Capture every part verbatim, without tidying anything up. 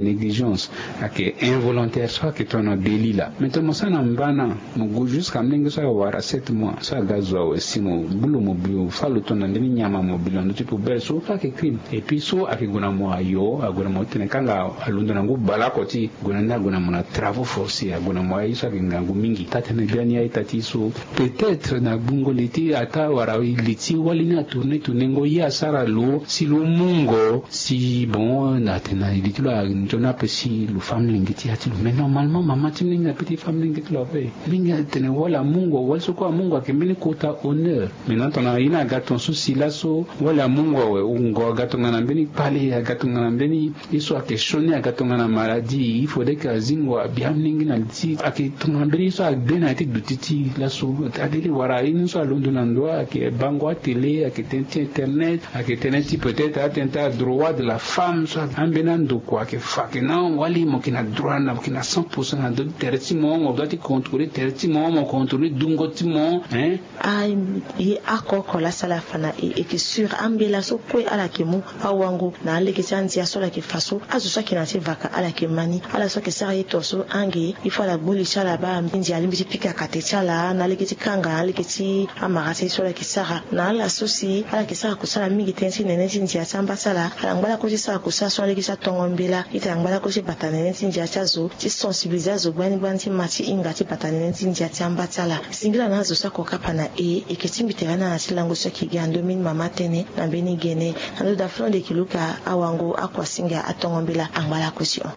Négligence ayeke involontaire so ayeke tongana délit laa. Mais tongana mo sara na mbana, mo gue jusqu'à molenge so awara sept mois so aga zo awe si mo gbu lo mo bi lo fâ lo tongana mbeni nyama mo bi lo na ndö ti poubelle so, so ayeke crime. Et puis so ayeke gue na mo ayo, ague na mo titene kanga alondo na ngu baleoko ti gue na ni, ague na mo na travaux forcés, ague na mo aye so ayeke ngangu mingi. Taa-tënë biani aita ti so, peut-être na gbungo li ti ataa wala li ti wali ni atourner tournengo ye asara lo si lo mungo si bon na tena li ti lo anzoni ape si lo fâ molenge ti ya ti lo. Mais normalement mama ti molenge na pe ti fâ molenge ti lo ape. Molenge atene wali amungo, wali so kue amungo ayeke mbeni kota honneur. Maintenant tongana ye ni aga ton so si laso wali amungo awe, wungo aga tongana mbeni kpale, aga tongana mbeni ye so ayeke sioni, aga tongana maladie, il faudrait que azingo abi amolenge na li ti ayeke tongana mbeni ye so agbe na ya ti duti ti laso. Adele wala ye ni so alondo na ndo ayeke bango atele, ayeke tënë ti internet, ayeke tënë ti peut-être atënë ti adroit de la femme so ayeke ambeni andokua ayeke fa ayeke na wali mo yeke na droit na mo yeke na cent pour cent na ndö ti tere ti mo, mo doit ti contrôler tere ti mo, mo contrôler dungo ti mo, hein. Aye oko oko laa asara afa na e, e yeke sûr ambela so kue ala yeke mu awango na alege ti andia so ala yeke fa so, azo so ayeke na ya ti vaka ala yeke ma ni. Ala so ayeke sara ye to so ange il faut ala gbu li ti ala baa ndia alingbi ti pika kate ti ala na alege ti kanga na alege ti amara ti ye so ala yeke sara. Na ala so si ala yeke sara kusala mingi tënë ti nene ti ndia ti amba ti ala, ala ngba lakue ti sara kusala so na alege ti atongo mbela. Ita ngba lakue ti bata nene ti ndia ti azo, ti sensibiliser azo gbani gbani ti ma ti hinga ti bata nene ti ndia ti amba ti ala. Singila na azo so ako kapa na e, e yeke tingbi tere na ala ti lango so ayeke gi na ndomini mama tënë na mbeni gene. Na ndo da flon de kiluka awango akuasinga atongo mbela angba lakue ti hon.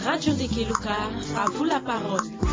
Radio Ndekeluka, à vous la parole.